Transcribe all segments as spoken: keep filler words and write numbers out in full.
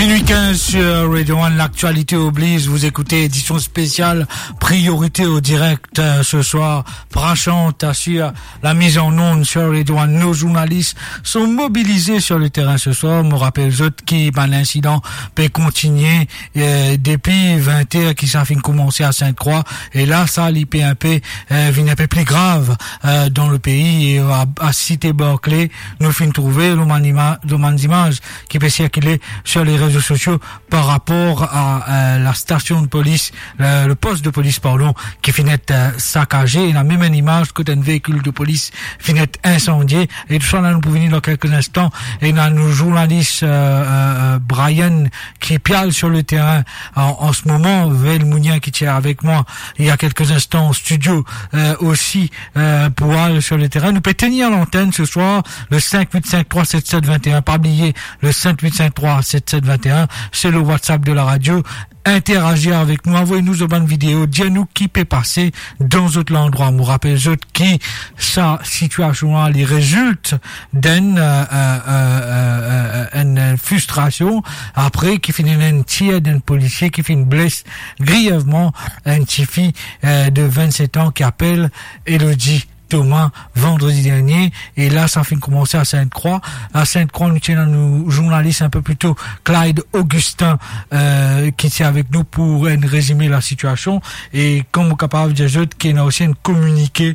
Minuit quinze sur Radio One, l'actualité oblige, vous écoutez édition spéciale, priorité au direct, euh, ce soir. Prashant assure la mise en onde sur Radio One. Nos journalistes sont mobilisés sur le terrain ce soir. Mo rapel zot ki bann insidan pe kontinie, euh, depi vingt heures ki sa finn koumans à Sainte-Croix. E la, sa li pe inpe, euh, vinn inpe pli grav, euh, dan le pei. E, euh, à, à Cité Barclay, nou finn trouve lor bann ima-, lor bann zimaz ki pe sirkile sur les réseaux sociaux par rapport à, euh, la station de police, le, le poste de police, pardon, ki finn et, euh, sakaze. Ena mem enn imaz kot enn veikil de polis finn et insandie. E tou sa la, nou pou vini dan kelke instan. Ena nou journalis, euh, euh, euh, Brian ki pe al sur le terrain an, an se moman. Vel Mounien ki ti avek mwa il y a quelques instants au studio, euh, aussi, euh, pou al sur le terrain. Nou pe tenir l'antenne ce soir, le cinq huit cinq trois sept sept vingt et un. Pa bliye, le cinq huit cinq trois sept sept vingt et un, c'est le WhatsApp de la radio. Interagir avek nou, avoy nou zot bann video, dir nou ki pe pase dan zot landrwa. Mo rapel zot ki sa sitiasion la, li rezilt d'enn, euh, euh, euh, euh, euh, enn, euh, fristrasion, apre ki finn ena enn tir d'enn polisie ki finn bles grievman enn tifi, euh, de vingt-sept ans ki apel Elodie Thomas vandredi dernie. E la, sa finn koumans à Sainte-Croix. À Sainte-Croix, nou ti ena nou journalis inpe pli to, Clyde Augustin, euh, ki ti avek nou pou enn rezime la sitiasion. E kom mo kapav dir zot, ki ena osi enn kominike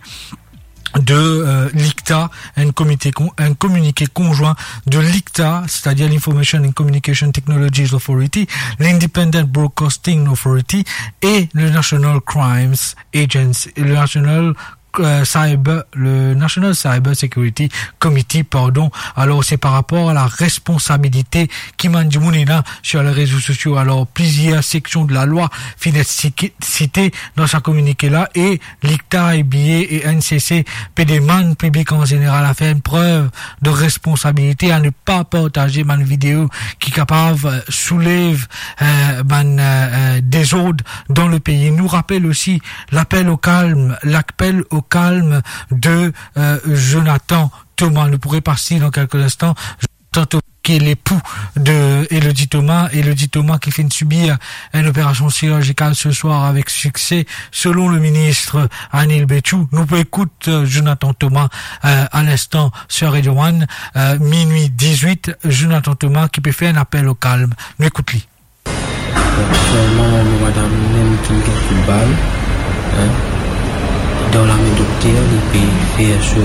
de, euh, l'ICTA, enn komite kon-, enn kominike konzwin de l'ICTA, c'est-à-dire l'Information and Communication Technologies Authority, l'Independent Broadcasting Authority et le National Crimes Agency, le National, euh, Cyber, le National Cyber Security Committee, pardon. Alor, se par rapor a la responsabilite ki bann dimoun ena sur les réseaux sociaux. Alor, plizier seksion de la loi finn et siki-, site dan sa kominike la, e l'ICTA, IBA e NCC pe demann piblik an zeneral a fer enn prev de responsabilite, a ne pa partaze bann video ki kapav, euh, soulev, euh, bann, euh, euh, dezord dan le pei. Nou rapel osi lapel o kalm, lapel o kalm de, euh, Jonathan Thomas. Nou pou repas li dan kelke instan. Jonathan Thomas, ki est l'époux de Elodie Thomas. Elodie Thomas ki finn sibir enn operasion sirjikal ce soir avec succès, selon le ministre Anil Bechoo. Nou pou ekout, euh, Jonathan Thomas, euh, à l'instant sur Radio One, euh, minuit dix-huit. Jonathan Thomas ki pe fer enn lapel o kalm. Nou ekout li. Aktielman, mo madam mem ki gagn kout bal, hein, dan lame dokter, li pe fer so,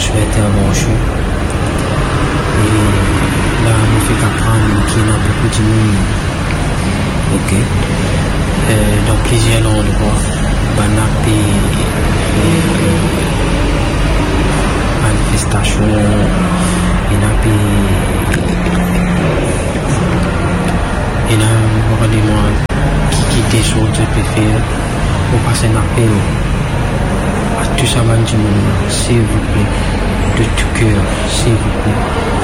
so intervansion. E la, mo fek aprann ki ena boukou dimoun, ok, euh, dan plizier landrwa, bann la pe, euh, manifestasion, ena pe Ena, mo pa demann ki, ki dezord zot pe fer, mo pas enn apel a tou sa bann dimoun la, silvouple, de tou ker, silvouple,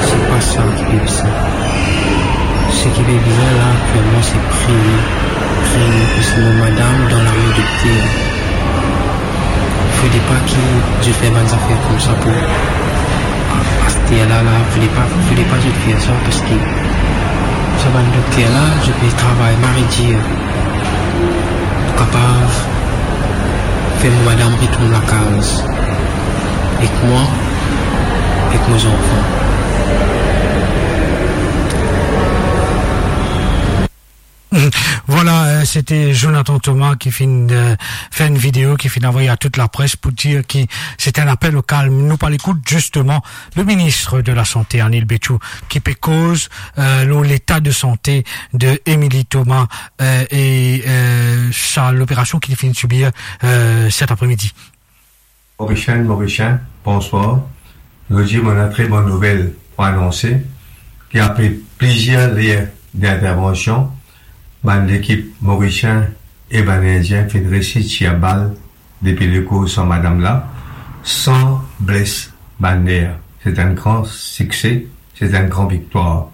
se pa sa ki pe bizin. Seki pe bizin la aktielman, se priye, priye, parski mo madam dan lame dokter. Fode pa ki zot fer bann zafer koumsa pou aster la, la, fode pa, fode pa zot fer sa, parski sa bann dokter la, zot pe travay mari dir pou kapav fer mo madam retourn lakaz ek mwa, ek mo zanfan. Voilà, euh, c'était Jonathan Thomas ki finn, euh, fer enn video, ki finn avoy a tout lapres pou dir ki se enn apel o kalm. Nou pou al ekout zisteman le ministre de la Santé, Anil Bechoo, ki pe koz, euh, lor leta de sante de Émilie Thomas, euh, e, euh, sa loperasion ki li finn sibir, euh, set apremidi. Morisien, Morisien, bonswar. Zordi mo ena tre bon nouvel pou anonse ki apre plizier ler d'intervansion, bann lekip Morisien e bann Indien finn resi tir bal depi lekor sa madam la, san bles bann ler. Se enn gran sikse, se enn gran viktwar.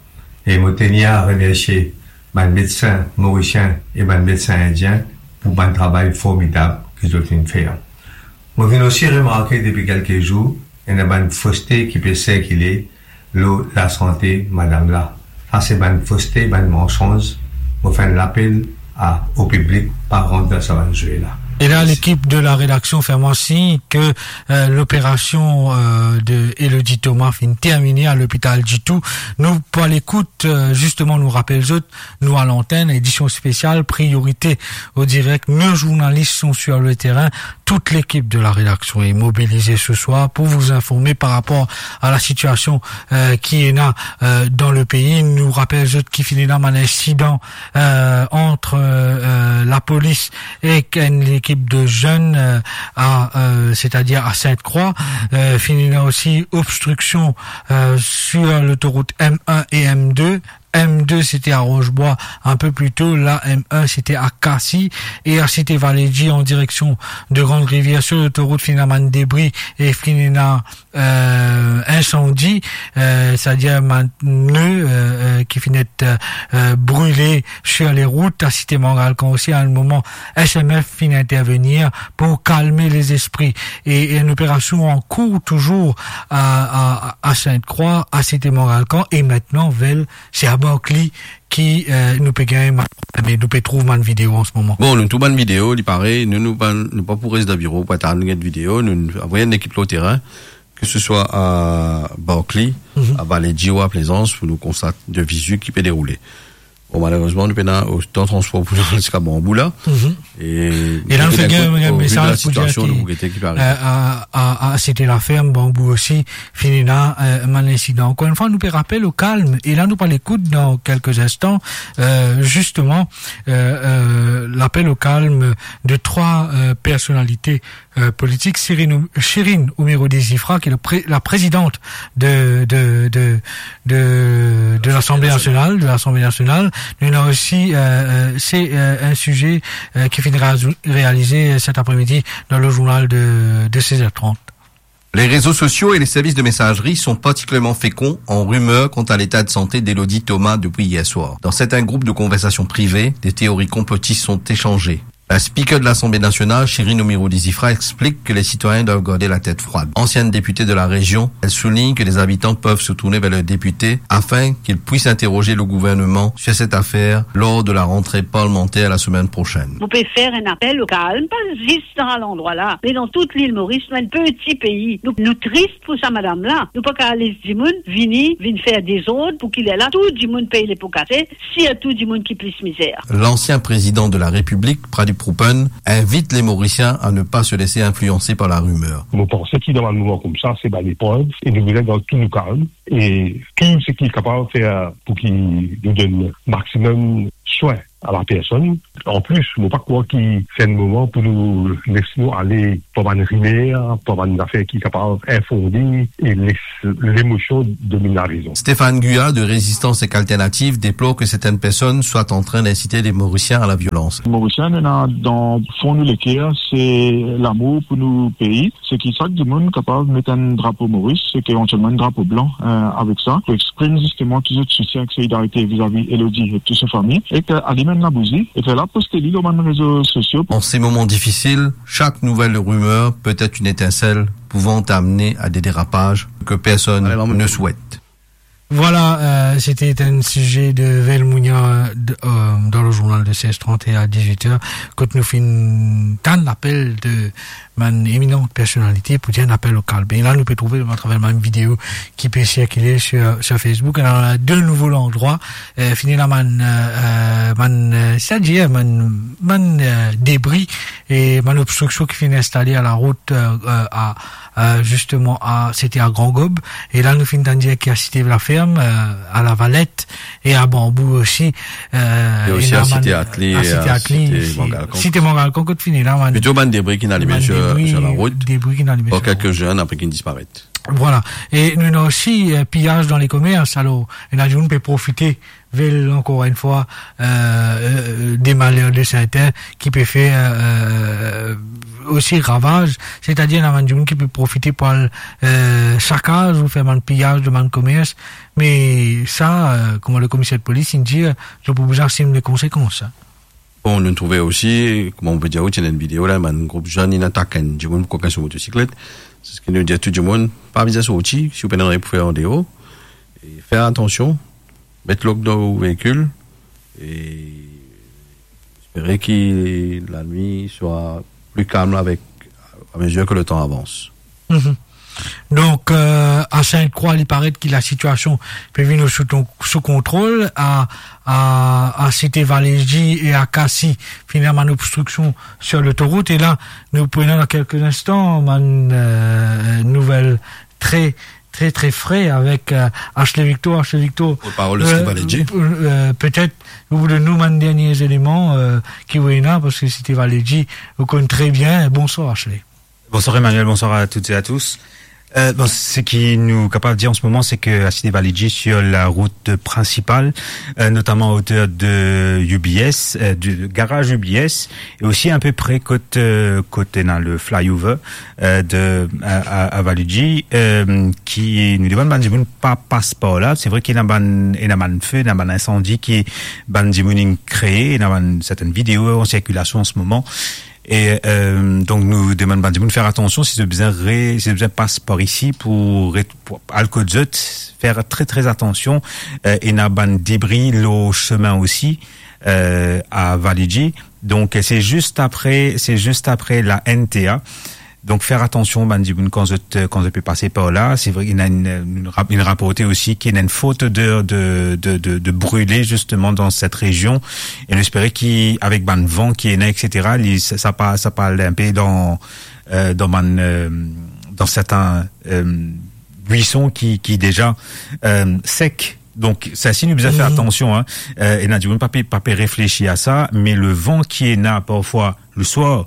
E mo tenir a remersie bann medsin Morisien e bann medsin Indien pou bann travay formidab ki zot finn fer. Mo finn osi remarke depi kelke zour, ena bann foste ki pe sirkile lor lasante madam la. Ase bann foste, bann mansanz, mo fer enn lapel a, o piblik, pa rant dan sa bann zwe la. Et là, l'équipe de la rédaction fait moi signe que, euh, l'opération, euh, de Elodie Thomas finn termine à l'hôpital Ditou. Nou, pou al ekout, euh, justement, nou rapel zot, nou a l'antenne, édition spéciale, priorité au direct. Nos journalistes sont sur le terrain. Toute l'équipe de la rédaction est mobilisée ce soir pour vous informer par rapport à la situation, euh, qui est là, euh, dans le pays. Nou rapel zot ki finn ena bann insidan, euh, entre, euh, euh, la police ek enn lekip de zenn, euh, à, euh, c'est-à-dire à Sainte-Croix. Euh, finn ena osi obstruction, euh, sur l'autoroute M un et M deux. M deux, c'était à Rochebois un peu plus tôt. Là, M un, c'était à Cassis. Et à Cité Vallée G, en direction de Grande-Rivière, sur l'autoroute, finn ena bann debri e finn ena, euh, insandi, euh, c'est-à-dire bann pneu, euh, euh, ki finn et, euh, euh, brile sur les routes. À Cité Mangalcan aussi, à un moment, S M F finn intervenir pour calmer les esprits. Et, et une opération en cours toujours à, à, à Sainte-Croix, à Cité Mangalcan, et maintenant, Vel, se a Barclay ki, euh, nou pe gagn, me nou pe trouv bann video an se moman. Bon, nou trouv bann video, li pare, nou, nou pa, nou pa pou res dan biro pou atann get video, nou, nou avoy enn lekip lor terin, ke se swa a Barclay, Mhm. a Vallée G ou a Plaisance, pou nou konstat de visu ki pe deroule. Bon, malerezman, nou pena otan transpor pou nou al ziska Banbou la. Mhm. E la, nou finn gagn, gagn mesaz pou dir ki, nou pou gete ki pe arive. Euh, a, a, a Cité Laferme, Banbou osi, finn ena, euh, bann insidan. Encore une fois, nou pe rapel au calme, et là, nou pou al ekout dans quelques instants, euh, justement, euh, euh, l'appel au calme de trois, euh, personnalités, euh, politiques, Chérine, Chérine Oumérou Desifra, qui est le pré-, la présidente de, de, de, de, de l'Assemblée nationale, de l'Assemblée nationale. Nou ena osi, euh, euh, c'est, euh, un sujet, euh, ki finn réa-, réalisé cet après-midi dans le journal de, de seize heures trente. Les réseaux sociaux et les services de messagerie sont particulièrement féconds en rumeurs quant à l'état de santé d'Elodie Thomas depuis hier soir. Dans certains groupes de conversation privée, des théories complotistes sont échangées. La speaker de l'Assemblée nationale, Chérine Oumérou Desifra, explique que les citoyens doivent garder la tête froide. Ancienne députée de la région, elle souligne que les habitants peuvent se tourner vers le député afin qu'il puisse interroger le gouvernement sur cette affaire lors de la rentrée parlementaire la semaine prochaine. Vous pouvez faire un appel au calme, pas juste dans l'endroit là, mais dans toute l'île Maurice, nou enn peti pei. Nou, nou tris pou sa madam la. Nou pa kapav les dimoun vini, vinn fer dezord pou ki lerla tou dimoun pey lepo kase, sirtou dimoun ki plis mizer. L'ancien président de la République, Pradeep Hoopan, invite les Mauriciens à ne pas se laisser influencer par la rumeur. Mo panse ki dan bann moman koumsa, se bann eprev, e nou bizin gard tou nou kalm, e tou seki kapav fer pou ki nou donn maximum swin a la personn. An plis, mo pa krwar ki se enn moman pou nou les nou ale par bann rimer, par bann zafer ki kapav infonde e les lemosion dominn larezon. Stéphane Guya de Résistance Ethnique Alternative déplore que certaines personnes soient en train d'inciter les Mauriciens à la violence. Morisien, nou ena dan fon nou leker, se lamour pou nou pei. Se ki sak dimoun kapav met enn drapo Moris, se ki evantielman enn drapo blan, euh, avek sa, pou exprim zisteman ki zot soutien ek solidarite vizavi Elodie e tou so fami, e ki alim enn labouzi, e fer la poste li lor bann rezo sosio. En ces moments difficiles, chaque nouvelle rumeur peut être une étincelle pouvant amener à des dérapages que personne ne souhaite. Voilà, euh, c'était un sujet de Vel Mounia, euh, de, euh, dans le journal de seize trente et à dix-huit heures, kot nou finn tann lapel de bann éminentes personnalités pou dir enn apel o kalm. E la, nou pe trouve atraver bann video ki pe sirkile sur, sur Facebook. Alors, on a de nouveaux endroits, euh, finn ena bann, euh, euh, bann, euh, c'est-à-dire bann, bann, euh, debri e bann obstriksion ki finn instale a la rout, euh, euh, a euh, justement, à, c'était à Grand Gaube. E la, nou finn tann dir ki a Cité Laferme, euh, à La Valette et à Banbou aussi, euh, e osi ena a Cité bann, Atli, a Cité Atli, Cité Mangalcan. Cité Mangalcan, kot finn ena bann, plito bann debri ki ena lime sur, sur la rout, debri ki ena lime sur la rout. Bon, kelke zenn apre ki disparet. Voilà. E nou ena osi, euh, piyaz dan le komers. Alor, ena dimoun pe profite Vel, encore une fois, euh, euh, des malheurs de certains ki pe fer, euh, osi ravaz, c'est-à-dire ena bann dimoun ki pe profite pou al, euh, sakaz ou fer bann piyaz de bann komers, me sa, euh, kouma le komiser de polis inn dir, zot pou bizin asim le konsekans, hein. Bon, nou trouve osi, kouma nou pe dir, ti ena enn video la, bann group zenn inn atak enn dimoun pou kokin so motosiklet. Se ki nou dir tou dimoun, pa bizin sorti, si ou pena nanye pou fer andeor, e fer atansion, Met lok dan ou veikil e espere ki lanwit swa pli kalm avek, a mezir ke letan avans. Mhm. Donk, euh, a Sint-Krwa, li paret ki lasitiasion pe vinn sou ton, sou kontrol. A, a, a Site Valeji e a Kasi, finn ena bann obstriksion sir lotorout. E la, nou pou ena dan kelke instan bann, euh, nouvel tre, tre, tre fre avek, euh, Ashley Victor. Ashley Victor, portparol Site Valeji, euh, euh, petet ou pou donn nou bann dernie eleman, euh, ki ou ena, parski Site Valeji, ou konn tre bien. Bonswar, Ashley. Bonsoir Emmanuel, bonsoir à toutes et à tous. Euh, bon, ce qui nous capable de dire en ce moment, c'est que à Site Valeji, sur la route principale, euh, notamment à hauteur de U B S, euh, du garage U B S, et aussi un peu près côté, euh, côté dans le flyover, euh, de, à, à, à Valeji, euh, ki nou demann bann dimoun pa pas par la. Se vre ki ena bann, ena bann fe, ena bann insandi ki bann dimoun inn kree, ena bann sertenn video an sirkilasion an se moman. E, euh, donk nou demann bann dimoun fer atansion si zot bizin re-, si zot bizin pas par isi pou re-, pou al kot zot, fer tre, tre atansion. Euh, ena bann debri lor sime osi, euh, a Valeji. Donk, se zis apre, se zis apre la N T A. Donk, fer atansion, bann dimoun, kan zot, kan zot pe pase par la. Se vre, ena enn, enn rap-, inn raporte osi ki ena enn fort oder de, de, de, de brile, zisteman, dan set rezion. E nou espere ki, avek bann van ki ena, et cetera, li, sa, sa pa, sa pa al inpe dan, euh, dan bann, euh, dan serten, euh, bwison ki, ki deza, euh, sek. Donk, sa si nou bizin fer atansion, hein. Euh, ena dimoun pa pe, pa pe reflesi a sa, me le van ki ena parfwa le swar,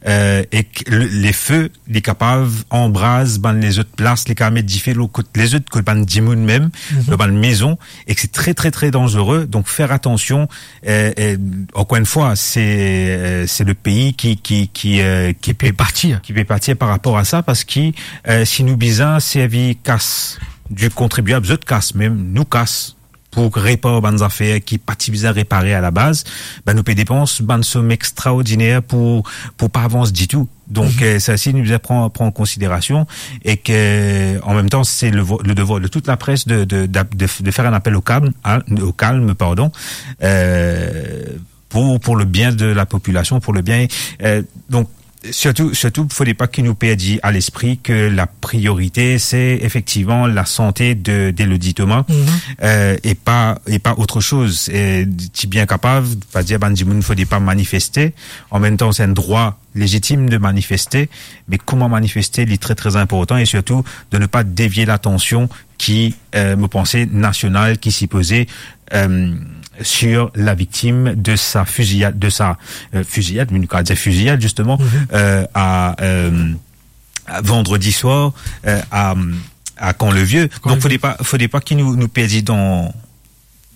euh, ek le, lefe, li kapav anbraz bann lezot plas, li kapav met dife lor kot lezot, kot bann dimoun mem, lor bann mezon, ek se tre, tre, tre danzere. Donk, fer atansion, euh, euh, ankor enn fwa, se, euh, se le pei ki, ki, ki, euh, ki pe patir, ki pe patir par rapor a sa, parski, euh, si nou bizin servi kas du kontribiab, zot kas mem, nou kas, pou repar bann zafer ki pa ti bizin repare alabaz, be, nou pe depans bann som extraordiner pou, pou pa avans ditou. Donk, euh, sa si nou bizin pran, pran an konsiderasion e ke, an mem tan, se le vo-, le devwar de tout la pres de, de, de, de, de fer enn apel o kalm, hein, o kalm, pardon, euh, pour, pour le bien de la population, pour le bien, euh, donc, surtout, surtout, fode pa ki nou perdi a lespri ke la priorite, se efektivman la sante de, d'Elodie Thomas, euh, e pa, e pa otre soz. E ti bien kapav, pa dir bann dimoun, fode pa manifeste. An mem tan, se enn drwa lezitim de manifeste, me kouma manifeste, li tre, tre inportan, e sirtou de ne pa devie latansion ki, euh, mo panse, nasional, ki sipoze, euh, sur la viktim de sa fiziyad, de sa, euh, fiziyad, me nou kapav dir fiziyad, zisteman, euh, a, euh, a vandredi swar, euh, a, a Camp-le-Vieux. Donk, fode pa, fode pa ki nou, nou perdi dan,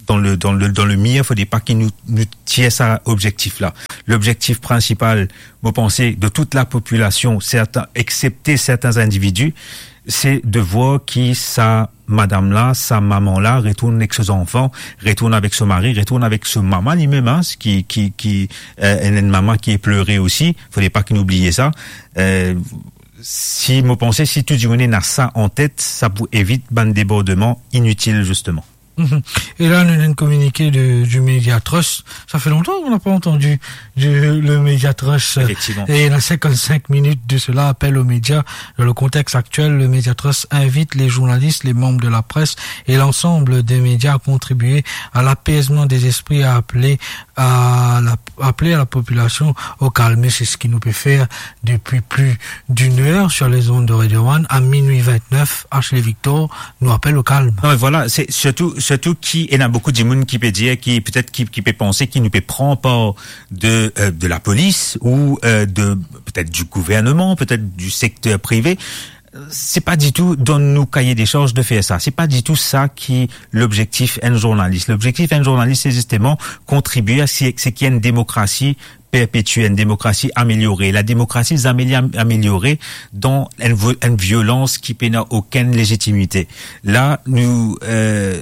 dan le, dan le, dan le mir, fode pa ki nou, nou tir sa lobzektif la. Lobzektif prinsipal, mo panse, de tout la popilasion, serten, eksepte serten individi, se de vwar ki sa madam la, sa mama la, retourn ek so zanfan, retourn avek so mari, retourn avek so mama limem, hein, ki, ki, ki, euh, enn, enn mama ki plere osi. Fode pa ki nou bliye sa. Euh, si, mo panse, si tou dimoun ena sa an tet, sa pou evit bann debordman initil, zisteman. Mhm. Et là, nous avons communiqué de, du Média Trust. Ça fait longtemps qu'on n'a pas entendu du, le Média Trust. Effectivement. Et il y a cinquante-cinq minutes de cela, appel aux médias. Dans le contexte actuel, le Média Trust invite les journalistes, les membres de la presse et l'ensemble des médias à contribuer à l'apaisement des esprits, à appeler à la, appeler à la population au calme. C'est ce qui nous peut faire depuis plus d'une heure sur les ondes de Radio One. À minuit vingt-neuf, Ashley Victor nous appelle au calme. Non, mais voilà, c'est surtout, surtout ki, ena boukou dimoun ki pe dir, ki petet ki, ki pe panse ki nou pe pran par de, euh, de la polis ou, euh, de, petet du gouvernement, petet du secteur privé. Se pa ditou dan nou kaye de sharz de fer sa. Se pa ditou sa ki lobzektif enn zournalis. Lobzektif enn zournalis, se zisteman kontribie a se, se ki enn demokrasi perpetie, enn demokrasi ameliore. La demokrasi zame li am-, ameliore dan enn vo-, enn violans ki pena okenn lezitimite. La, nou, euh,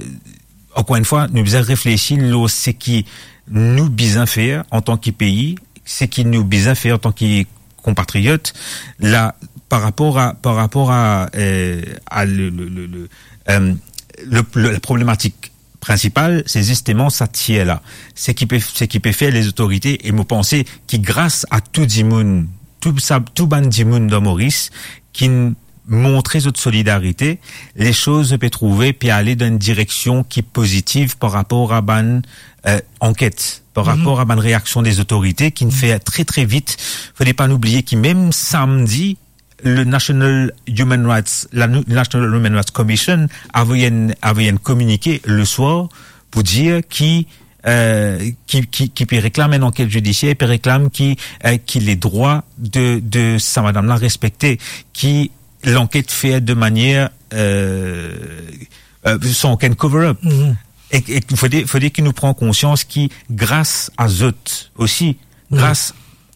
ankor enn fwa, nou bizin reflesi lor seki nou bizin fer antan ki pei, seki nou bizin fer antan ki konpatriot. La, par rapor a, par rapor a, euh, a le, le, le, le, euh, le, le, la problematik prinsipal, se zisteman sa tir la. Seki pe, seki pe fer lezotorite, e mo panse ki gras a tou dimoun, tou sa, tou bann dimoun dan Moris, ki'nn montre zot solidarite, lesoz pe trouve pe ale dan enn direksion ki pozitiv par rapor a bann, eh, anket, par rapor a bann reaksion dezotorite ki'nn fer tre, tre vit. Fode pa nou bliye ki mem samdi, le National Human Rights, la nou-, National Human Rights Commission avoy enn, avoy enn kominike le swar pou dir ki, eh, ki, ki, ki pe reklam enn anket zidisier, pe reklam ki, eh, ki ledrwa de, de sa madam la respekte, ki lanket fer de manier, eh, eh, san okenn cover-up. E, e fode, fode ki nou pran konsians ki gras a zot osi, gras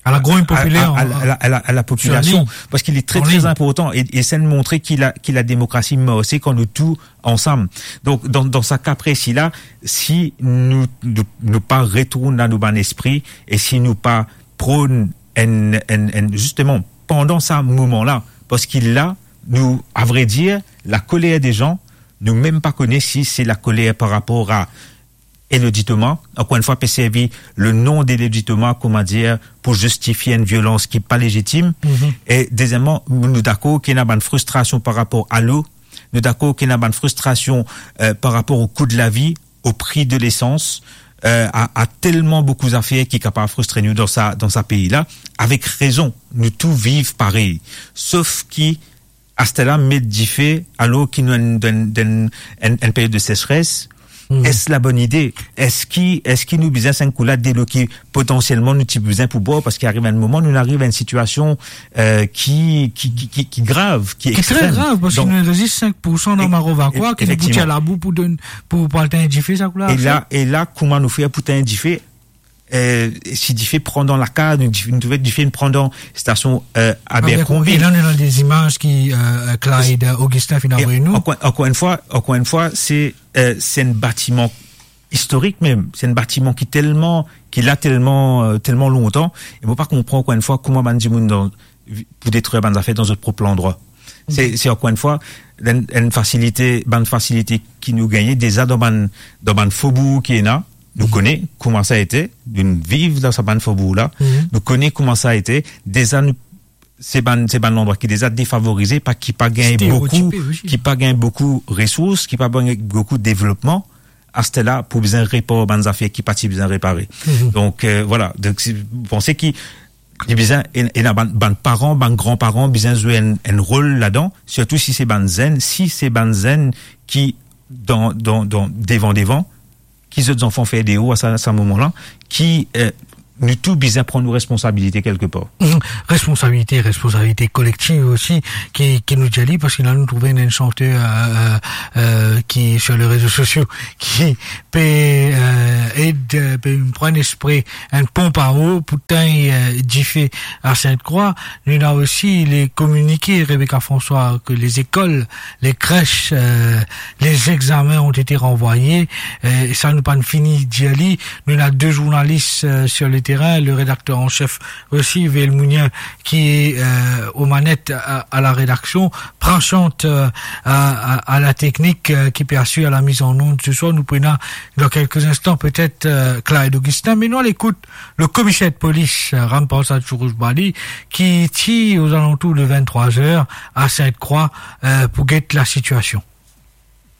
a la group popilè, a, a, a, a la, a la, a la popilasion, parski li tre, tre inportan, e, e sa montre ki la, ki lademokrasi marse kan nou tou ansam. Donk, dan, dan sa ka presi la, si nou, nou, nou pa retourn dan nou bann lespri, e si nou pa pronn enn, enn, enn, zisteman, pandan sa moman la, parski la, nou, a vre dir, lakoler de zan, nou mem pa kone si se lakoler par rapor a Elodie Thomas, ankor enn fwa, pe servi le nom de Elodie Thomas, kouma dir, pou zistifie enn violans ki pa lezitim. E dezieman, nou dakor ki ena bann fristrasion par rapor a lo, nou dakor ki ena bann fristrasion, eh, par rapor o kou de lavi, o pri de lesans, eh, a, a telman boukou zafer ki kapav fristre nou dan sa, dan sa pei la. Avek rezon, nou tou viv parey. Sof ki aster la met dife, alor ki nou enn, enn, enn, enn, enn period de sesres, es la bonn ide? Eski, eski nou bizin sa enn kou la delo ki potansielman nou ti bizin pou bwar, parski ariv enn moman, nou ariv a enn sitiasion, eh, ki, ki, ki, ki, ki grav, ki extrem. Ki tre grav, parski nou ena zis sink poursan dan Maro Vakwa ki nou pou tir labou pou donn, pou, pou al tegn dife sa kou la. E la, e la, kouma nou fer pou tegn dife? Eh, si dife pran dan lakaz, nou, dife, nou trouve dife pran dan stasion, eh, Abercrombie. Abercrombie. E la, nou ena de zimaz ki, eh, Clyde Augustin finn avoy nou. Ankor, ankor enn fwa, ankor enn fwa, se, eh, se enn batiman istorik mem. Se enn batiman ki telman, ki la telman, eh, telman lontan. E mo pa konpran ankor enn fwa kouma bann dimoun dan, pou detrir bann zafer dan zot prop landrwa. Se, se ankor enn fwa, enn, enn fasilite, bann fasilite ki nou gagne deza dan bann, dan bann fobour ki ena, nou kone kouma sa ete, nou viv dan sa bann fobour la, nou kone kouma sa ete, deza nou, se bann, se bann landrwa ki deza defavorize, pa, ki pa gagn boukou, ki pa gagn boukou resours, ki pa gagn boukou devlopman, aster la pou bizin repar bann zafer ki pa ti bizin repare. Donk, eh, vwala. Donk, si, panse ki li bizin, e, ena bann, bann paran, bann granparan bizin zwe enn, enn rol ladan, sirtou si se bann zenn, si se bann zenn ki dan, dan, dan, devan, devan, ki zot zanfan fer deor a sa, sa moman la, ki, eh, nou tou bizin pran nou responsabilite kelke par. Responsabilite, responsabilite kolektiv osi, ki, ki nou dir li, parski la nou trouve enn santer, eh, eh, eh, ki, sur les réseaux sociaux, ki pe, eh, ed, eh, pe pran espre enn ponp a o pou tegn, eh, dife a Sinte-Krwa. Nou ena osi le kominike Rebecca François ke lezekol, le kres, eh, les examens ont été renvoyés. Eh, sa nou pa'nn fini dir li. Nou ena de zournalis, eh, sur le terrain, le redakter an sef osi, Vel Mounien, ki, eh, o manet a, a la redaksion, Prashant, eh, a, a, a la teknik, eh, ki pe asir la miz an onn se swar. Nou pou ena dan kelke instan petet, eh, Clyde Augustin, me nou al ekout le komiser de polis, eh, Ramparsad Sourozbali, ki ti ozalantour de vinn-trwa zer a Sinte-Krwa, eh, pou get la sitiasion.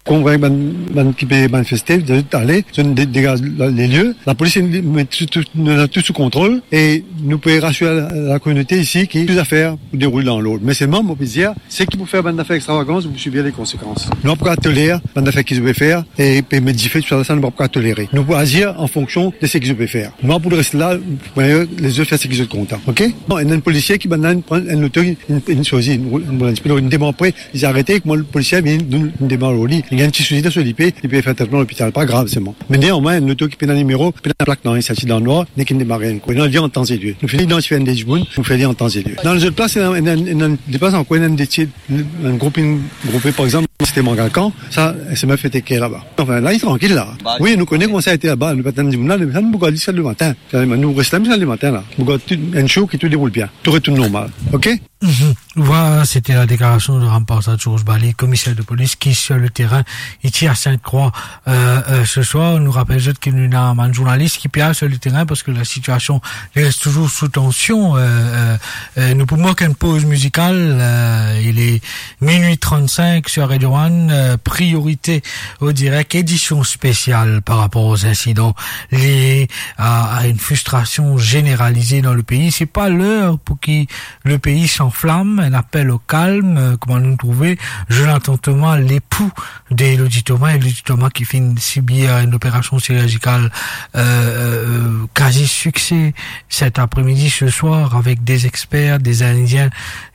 Konvink bann, bann ki pe manifeste, zot ale, zot de-, degaz la, lelie. Lapolis, nou met tou, tou, nou ena tou sou kontrol e nou pe rasir la, lakominote isi ki tou zafer pou deroul dan lord. Me selman, mo pe dir, seki pou fer bann zafer extravagans, zot pou sibir le konsekans. Nou pa pou kapav toler bann zafer ki zot pe fer e pe met dife, tousala, sa nou pa pou kapav tolere. Nou pou azir an fonksion de seki zot pe fer. Nou pa pou res la, pou lezot fer seki zot kontan, ok? Bon, ena enn polisie ki bann la, inn pran enn loto, inn, inn, inn sezi, inn, inn, inn, inn demann pre, li arete, kouma polisie vinn, donn, inn demann lor li. Li gagn ti sousi dan so lipe, li pe fer tretman lopital, pa grav selman. Me neanmwin, enn loto ki pena nimero, pena plak, nanye, sorti dan nwar, nek inn demare enn kou. Nou al li an tan e lie. Nou finn idantifie enn de dimoun, nou fer li an tan e lie. Dan lezot plas, ena, ena, ena, ena, de plas ankor, ena enn de ti, enn group, enn group, par exanp, Sete Mangalkan, sa, se mem fete ki laba. Anfin, la, li trankil la. Wi, nou kone kouma sa ete laba, nou pa tann dimoun la, nou tann boug li sa lematin. Sa, nou res la, sa lematin la. Boug tou, enn zour ki tou deroul bien. Tou retourn normal. OK? Mhm. Voilà, c'était la déclaration de Ram Parsad Georges Bali, commissaire de police, qui est sur le terrain, ici à Sainte-Croix. Euh, euh, ce soir, nou rapel zot ki nou ena bann zournalis ki pe al sur le terrain parce que la situation reste toujours sous tension. Euh, euh, euh, nou pou mark enn poz mizikal, euh, il est minuit trente-cinq sur Radio One, euh, Priorité au direct, édition spéciale par rapport aux incidents liés à, à une frustration généralisée dans le pays. C'est pas l'heure pour que le pays s'enflamme, un appel au calme, euh, kouma nou trouve Jonathan Thomas, lepou de Elodie Thomas, Elodie Thomas ki finn sibir enn operasion sirjikal, euh, euh, kazi sikse, cet après-midi, ce soir, avec des experts, des Indiens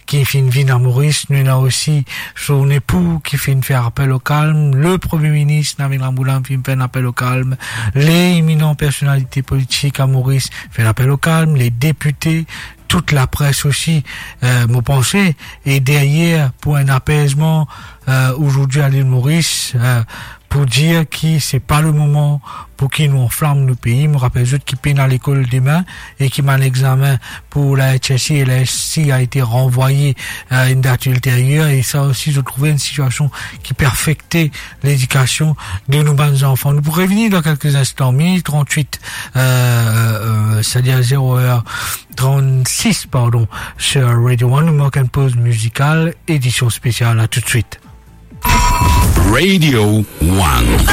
ki finn vinn a Moris. Nou ena osi son epou ki finn fer apel o kalm, le Premie Minis Navin Ramgoolam finn fer enn apel o kalm, les éminentes personnalités politiques à Maurice finn fer enn apel o kalm, les députés, toute la presse aussi, euh, mo panse, e deryer pou enn apezman, euh, azordi a Lil Moris, euh, pou dir ki se pa le moman pou ki nou anflam nou pei. Mo rapel zot ki pena lekol demin e ki bann examen pou la H S C et la S C a été renvoyé à une date ultérieure. E sa osi, zot trouve enn sitiasion ki pe afekte ledikasion de nou bann zanfan. Nou pou revini dan kelke instan, minuit trant-wit, euh, euh, c'est-à-dire zéro heure trente-six, pardon, sur Radio One. Nou mark enn poz mizikal, édition spéciale. À tout de suite. Radio One.